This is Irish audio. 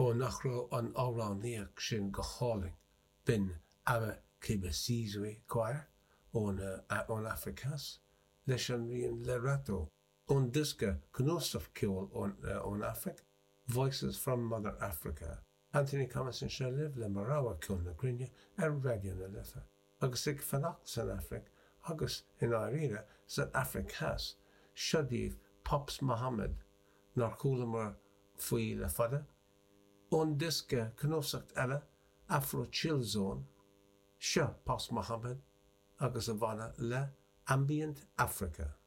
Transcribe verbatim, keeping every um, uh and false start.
Ó nach raibh an amhránaíocht sin go hálainn? B'in AmaXhibisizwe Choir ón ón Afraic Theas leis an rian Lerato ón diosca cnuasach ceoil ón ón Afraic, Voices from Mother Africa. Anthony Thomas anseo libh le mo rogha ceol na gcruinne ar Raidió na Life. Agus ag fanacht san Afraic agus i ndáiríre san Afraic Theas, seo daoibh Pops Mohamed nár chualamar faoi le fada. Ón diosca cnuasach eile, Afro Chill Zone, seo Pops Mohamed agus a bhanna le Ambient Africa.